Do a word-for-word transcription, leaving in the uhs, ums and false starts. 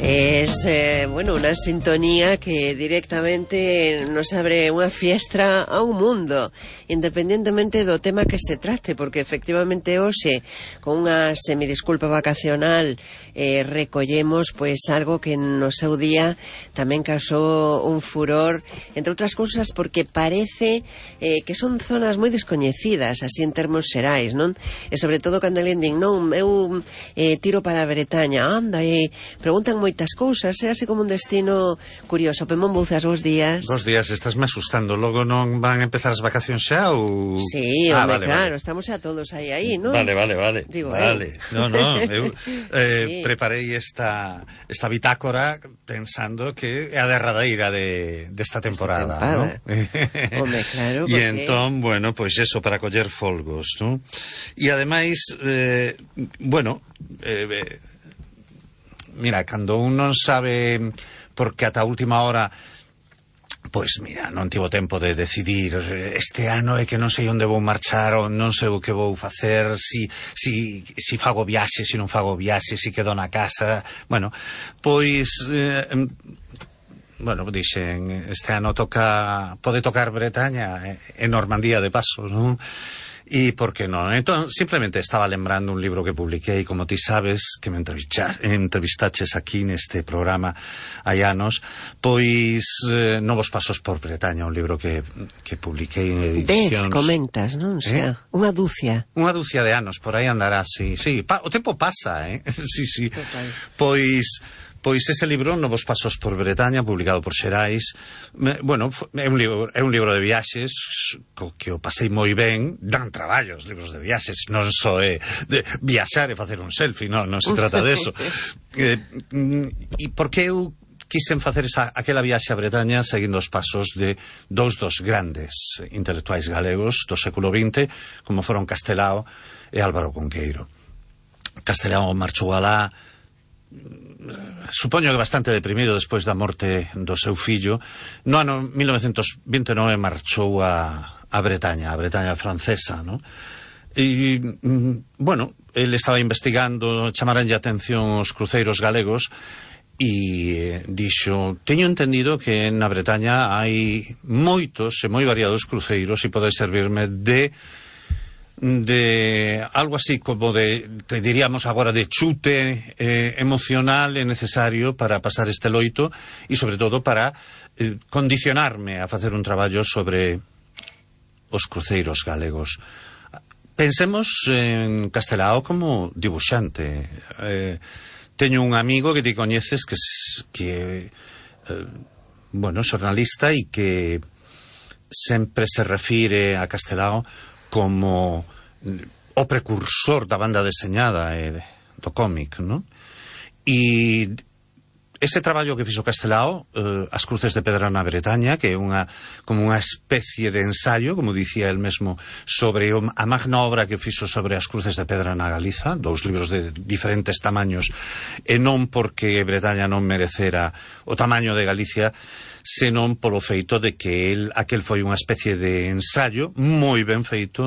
Es, eh, bueno, unha sintonía que directamente nos abre unha fiestra a un mundo, independentemente do tema que se trate, porque efectivamente hoxe, con unha semidisculpa vacacional, eh, recollemos pois algo que no seu día tamén causou un furor, entre outras cousas porque parece eh, que son zonas moi descoñecidas, así en termos xerais, non? E sobre todo cando alguén din, non, eu eh, tiro para a Bretaña, anda, e preguntan moitas cousas, é así como un destino curioso. Pemón Bouzas, bons días. Bos días, estásme asustando. Logo non van a empezar as vacacións xa ou... Sí, ah, home, vale, claro, vale. estamos a todos aí, aí, non? Vale, vale, vale. Digo, vale. eu. No, no, eu eh, Sí. preparei esta esta bitácora pensando que é a derradeira de desta temporada, ¿no? Home, claro, E porque... entón, bueno, pois pues eso, para coller folgos, ¿no? E ademais, eh, bueno, eh, eh, mira, cando un non sabe, porque ata a última hora, pois mira, non tivo tempo de decidir este ano é que non sei onde vou marchar ou non sei o que vou facer, si, si, si fago viaxe, si non fago viaxe, si quedo na casa, bueno, pois eh, bueno, dixen, este ano toca, pode tocar Bretaña e Normandía de paso, non? E por que non? Entón, simplemente estaba lembrando un libro que publiquei, como ti sabes, que me entrevistaches aquí neste programa hai anos, pois eh, Novos pasos por Bretaña, un libro que, que publiquei en edicións... Dez, comentas, non? O sea, eh? unha dúcia. Unha dúcia de anos, por aí andará, sí, sí. Pa, o tempo pasa, eh? sí, sí. Total. Pois... Pois ese libro, Novos pasos por Bretaña, publicado por Xerais, me, bueno, é un libro, é un libro de viaxes co que o pasei moi ben, dan traballo os libros de viaxes, non só é de viaxar e facer un selfie, non, non se trata de eso. eh, e por que eu quixen facer esa, aquela viaxe a Bretaña seguindo os pasos de dous dos grandes intelectuais galegos do século vinte, como foron Castelao e Álvaro Cunqueiro. Castelao marchou alá, supoño que bastante deprimido despois da morte do seu fillo. No ano mil novecentos vinte e nove marchou a, a Bretaña, a Bretaña francesa, ¿no? E, bueno, ele estaba investigando, chamaranlle a atención os cruceiros galegos e dixo, teño entendido que na Bretaña hai moitos e moi variados cruceiros e pode servirme de de algo así como de, que diríamos agora, de chute eh, emocional e necesario para pasar este loito e sobre todo para eh, condicionarme a facer un traballo sobre os cruceiros galegos. Pensemos en Castelao como dibuixante. Eh, teño un amigo que ti coñeces que, que eh, bueno, xornalista e que sempre se refire a Castelao como o precursor da banda deseñada e do cómic, non? E ese traballo que fixo Castelao, eh, As cruces de pedra na Bretaña, que é unha como unha especie de ensayo, como dicía el mesmo, sobre o, a magna obra que fixo sobre as cruces de pedra na Galiza, dous libros de diferentes tamaños, e non porque Bretaña non merecera o tamaño de Galicia, senón polo feito de que el, aquel foi unha especie de ensayo moi ben feito